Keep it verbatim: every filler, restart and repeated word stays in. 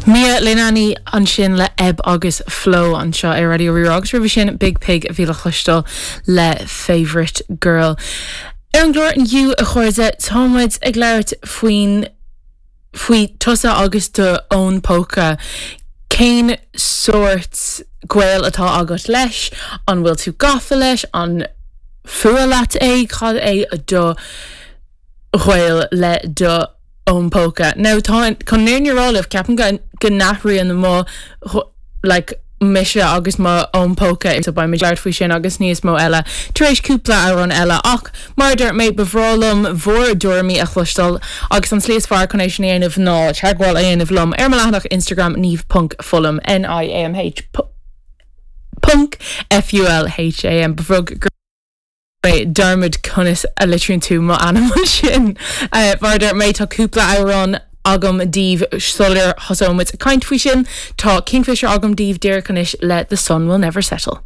Mia Leilani ansin le Ebb agus Flow anseo ar Raidió Rí-Rá agus roimhe sin Biig Pig a bhí le cloisteáil le Favorite Girl. Ar an gclár inniu a chairde táimid ag labhairt faoin faoi tusa agus do fhón póca. Cén sórt gaol atá agat leis, an bhfuil tú gafa leis, an fuath leat é cad é do ghaol le do fhón póca. Now tá chun an fhírinne a rá libh ceapaim go go n-athraíonn mo like, mise agus mo fhón póca so beidh labhairt faoi sin agus níos mó eile tar éis cúpla amhrán eile ach mar dúirt mé ba bhreá liom bhur dtuairimí a chloisteáil agus an slí is fearr chun é sin a dhéanamh ná teagmháil a dhéanamh liom ar mo leathanach Instagram niamh.fulham N-I-A-M-H ponc F-U-L-H-A-M ba bhreá dearmad conas a litríonn tú mo ainm sin. Uh, mar dúirt mé tá cúpla amhrán agam daoibh sular thosóimid caint faoi sin, tá Kingfisher agam daoibh díreach anois le The Sun Will Never Settle.